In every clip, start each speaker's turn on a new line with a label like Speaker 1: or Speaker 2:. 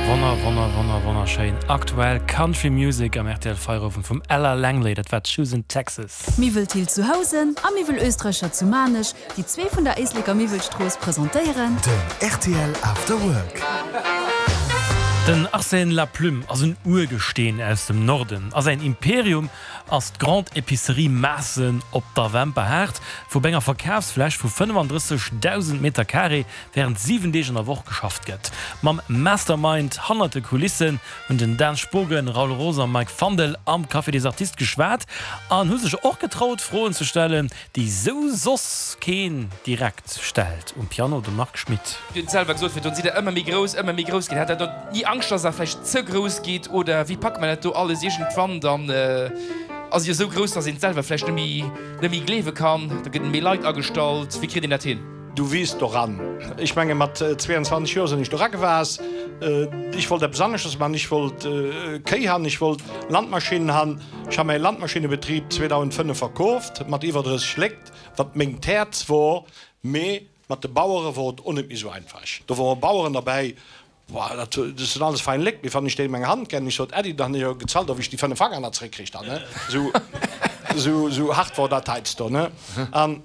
Speaker 1: Wonner, wonner, wonner, wonnerschéin aktuell Country Music am rtl Feierowend vum Ella Langley, dat war Choosin' Texas.
Speaker 2: Miwwel Thill zu Housen a Miwwel Oestreicher zu Maarnech, déi zwee vun der Éisleker Miwwelstrooss, presentéieren.
Speaker 3: Den rtl After Work.
Speaker 1: Den Arsène Laplume ass en Urgesteen aus dem Norden a säin Imperium ass d'Grande Epicerie Maassen op der Wemperhaart, wou op enger Verkafsfläch vu 35.000 Meter Carré wärend 7 Deeg an der Woch geschafft gëtt. Mam Mastermind hannert de Kulissen hunn den Dan Spogen, Raoul Roos a Mike Fandel am Café des Artistes geschwat an hu sech och getraut Froen ze stellen, déi sou soss keen direkt stellt. Um Piano de Marc Schmitt.
Speaker 4: Dir hutt selwer gesot virdrun, sidd der ëmmer méi grouss, ëmmer méi grouss ginn. Hat der do ni Angscht, dass der vläicht ze grouss gitt oder wéi packt man dat do alles iergendwann? Dann ass et jo esou grouss, dass een et selwer vläicht net méi, net méi gleewe kann. Da gëtt méi Leit agestallt. Wéi kritt een dat hin?
Speaker 5: Du wiisst doran. Ech menge mat 22 Joer sinn ech dora gewaass. Ech wollt eppes aneschters man. Ech wollt Kéi han, ech wollt Landmaschinnen han. Ech ha mäi Landmaschinnebetrib 2005 verkooft mat iwwer 30 Léckt, wat mengt Häerz wor. Mee mat de Bauere wor et o net méi sou einfach. Do wore Baueren derbäi, Boah, dat sinn alles fein Léckt, mee wann ech déi meng Hand genn, ech sot, Äddi, dann hunn ech jo gezahlt, ob ech déi 5 Fanger nach zréckkricht han, ne? Sou, sou, sou hart wor dat heiansdo, ne? An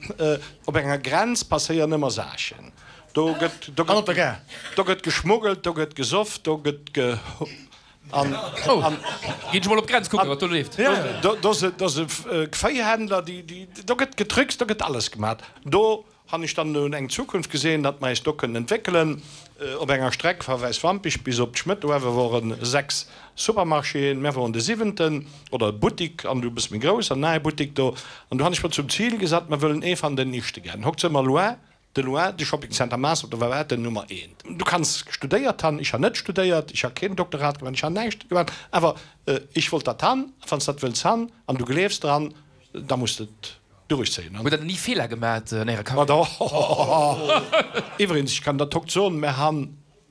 Speaker 5: op enger Grenz passéieren ëmmer Saachen. Do gëtt, do
Speaker 6: An op der
Speaker 5: gëtt,
Speaker 6: Gare.
Speaker 5: do gëtt geschmuggelt, do gëtt gesoff, do gëtt ge, an, an.
Speaker 4: Ginn ech mol op d'Grenz kucken, wat do leeft.
Speaker 5: Do, do si, do si Véihändler, déi, déi, do gëtt getrickst, do gëtt alles gemat. Do Han ech dann nun eng Zukunft gesehen, datt mer eis do kënnen entwéckelen. Op enger Streck va Wäiswampich bis op d'Schmëtt uewe woren 6 Supermarchéen, mär woren de siwenten, oder e Buttik an du e bësse méi grouss an nahe Buttik do. An du han ech mer zum Ziel gesat, mer wëllen ee van den ischte gän. Hokt se mer loin de loin de Shopping Center Maas op der war den Nummer eent. Du kanns studéiert han, ech han net studéiert, ech ha keen Doktorat gemat, ech han näischt gemat, awer ech wollt dat han, a wanns dat wëlls han an du gleefs dran, da muss de et Duerchzéien.
Speaker 4: Hutt der ni Feeler gemat an ärer Karriär?
Speaker 5: Iwwregens, ech kann der Tock soen, mer han.